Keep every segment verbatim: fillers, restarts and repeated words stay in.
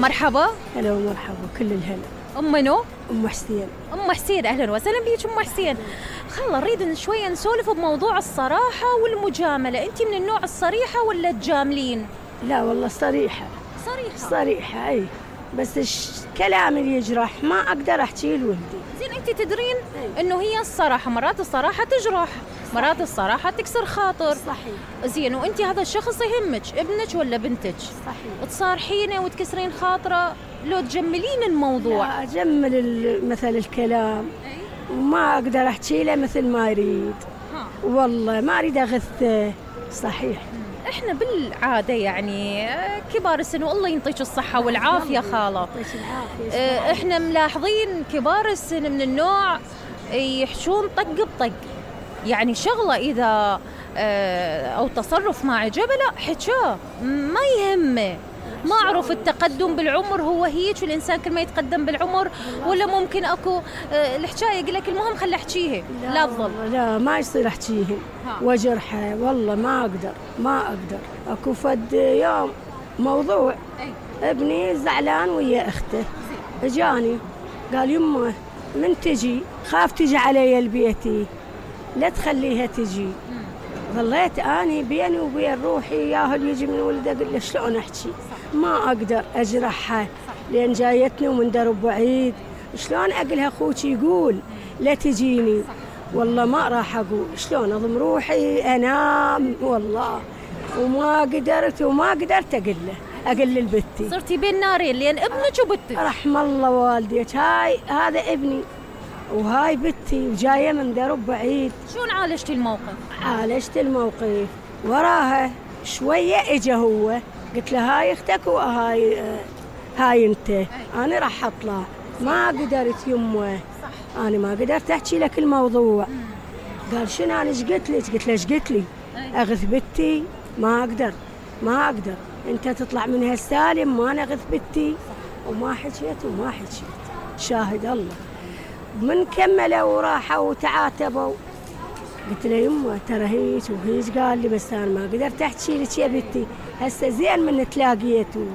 مرحبا. هلا ومرحبا، كل الهلا. ام منو؟ ام حسين. ام حسين، اهلا وسهلا بيك ام حسين. خلا نريد شويه نسولف بموضوع الصراحه والمجامله، انت من النوع الصريحه ولا تجاملين؟ لا والله صريحه. صريحه صريحه اي، بس الكلام اللي يجرح ما اقدر احكيه لولدي. زين انت تدرين انه هي الصراحه مرات الصراحه تجرح، مرات الصراحه تكسر خاطر. صحيح. زين وانت هذا الشخص يهمك ابنك ولا بنتك؟ صحيح. تصارحينه وتكسرين خاطره لو تجملين الموضوع؟ لا اجمل مثل الكلام وما اقدر احكي له مثل ما يريد. ها. والله ما اريد اغثه. صحيح. احنا بالعاده يعني كبار السن والله ينطيك الصحه والعافيه خاله، احنا ملاحظين كبار السن من النوع يحشون طق بطق، يعني شغله اذا او تصرف ما عجبه لا حكاه ما يهمه. ما أعرف التقدم بالعمر هو هيك والإنسان كل ما يتقدم بالعمر ولا ممكن أكو الحكاية يقول لك المهم خلي أحكيها لا تظل. لا ما يصير أحكيها وجرحها، والله ما أقدر ما أقدر. أكو فد يوم موضوع ابني زعلان ويا أخته، اجاني قال يمه من تجي خاف تجي علي لبيتي لا تخليها تجي. ظليت أني بيني وبين روحي ياهل يجي من ولده أقول له شلون أحكي، ما أقدر أجرحها لأن جايتني ومن درب بعيد، شلون أقولها أخوك يقول لا تجيني. والله ما راح أقول، شلون أضم روحي أنام والله وما قدرت وما قدرت أقول له أقول للبتي. صرتي بين نارين لأن ابنك وبتك. رحم الله والديك، هاي هذا ابني وهاي بنتي وجايه من درب بعيد. شلون عالجتي الموقف؟ عالجت الموقف وراها شويه اجا هو قلت له هاي اختك وهاي آه هاي انت. انا راح اطلع ما قدرت يمه، انا ما قدرت احكي لك الموضوع. قال شنو انا ايش قلت لك؟ قلت له ايش قلت لي؟ اغث بنتي؟ ما اقدر ما اقدر، انت تطلع من هالسالم ما انا اغث بنتي. وما حكيت وما حكيت، شاهد الله. من كملوا وراحوا وتعاتبوا قلت له يمه ترى هيك وهيك. قال لي بس انا ما قدرت احكي لك يا بنتي، هسه زين من تلاقيتوا.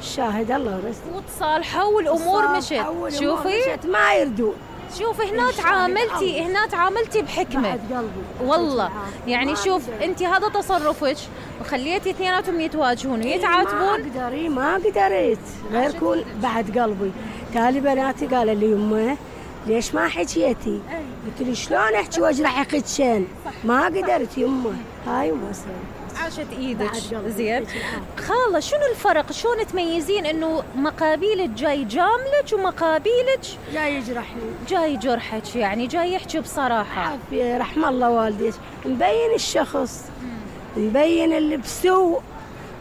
شاهد الله بس. وتصالحوا والامور مشت. شوفي مشت ما يردون. شوفي هنا تعاملتي هنا تعاملتي بحكمه بعد قلبي والله. يعني شوف انت هذا تصرفك وخليتي اثنيناتهم يتواجهون ويتعاتبون. ما قدري ما قدرت غير كون بعد قلبي. تالي بناتي قالوا لي يمه ليش ما حكيتي؟ قلت له شلون احكي واجرح خدشين؟ ما قدرت يمه. هاي وما صار. عاشت ايدك. زين خاله شنو الفرق؟ شلون تميزين انه مقابيلك جاي جاملك ومقابيلك جاي يجرحني جاي جرحك، يعني جاي يحكي بصراحه؟ عافيه رحم الله والديك، مبين الشخص مبين اللي بسوء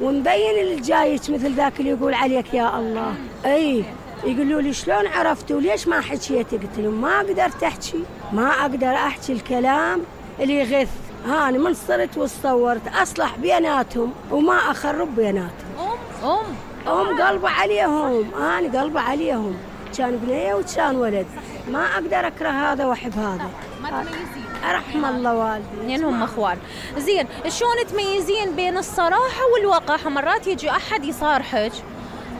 ومبين اللي جايك مثل ذاك اللي يقول عليك يا الله. اي يقولوا لي شلون عرفتوا ليش ما حكيتي؟ قلت لهم ما قدرت احكي، ما اقدر احكي الكلام اللي يغث. ها انا من صرت وصورت اصلح بيناتهم وما اخرب بيناتهم. ام ام ام قلبه عليهم، انا قلبه عليهم، كان بنيه وكان ولد. ما اقدر اكره هذا واحب هذا. ما تميزين. رحم الله والدي اثنينهم اخوان. زين شلون تميزين بين الصراحه والوقاحه؟ مرات يجي احد يصارحك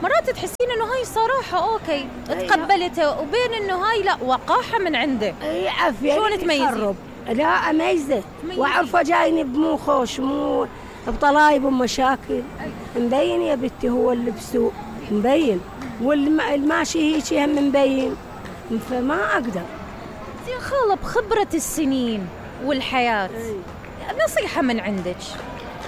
مرات تحسين انه هاي صراحه اوكي تقبلته وبين انه هاي لا وقاحه من عنده. اي عافيه. شلون تميزين؟ لا اميزه واعرفه جايني بمو خوش مو بطلايب ومشاكل. مبين يا بنتي هو اللي بسوء مبين والماشي هيك هم مبين، فما اقدر. زين خاله بخبره السنين والحياه نصيحه من عندك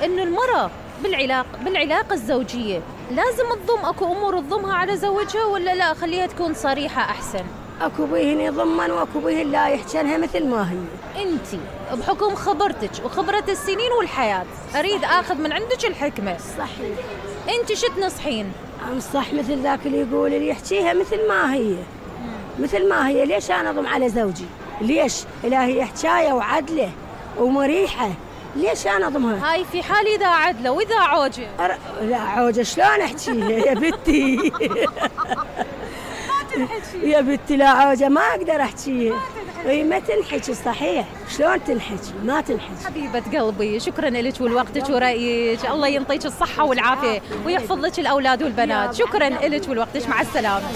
انه المراه بالعلاقه بالعلاقه الزوجيه لازم تضم اكو امور تضمها على زوجها ولا لا خليها تكون صريحه احسن؟ اكو بيهن يضمن واكو بيهن لا يحجنها مثل ما هي. انت بحكم خبرتك وخبره السنين والحياه اريد اخذ من عندك الحكمه. صحيح. انت شو تنصحين؟ انصح مثل ذاك اللي يقول اللي يحكيها مثل ما هي. مثل ما هي. ليش انا اضم على زوجي؟ ليش؟ لا هي حكايه وعدله ومريحه، ليش انا اضمها؟ هاي في حال اذا عدله واذا عوجه. أر... لا عوجه شلون احكيها يا بنتي؟ ما تنحكي يا بنتي لا عوجه ما اقدر احكيها. ما تنحكي. اي ما تنحكي صحيح، شلون تنحكي؟ ما تنحكي. حبيبة قلبي، شكرا لك ولوقتك ورأيك، الله ينطيك الصحة والعافية ويحفظ لك الأولاد والبنات. شكرا لك ولوقتك، مع السلامة.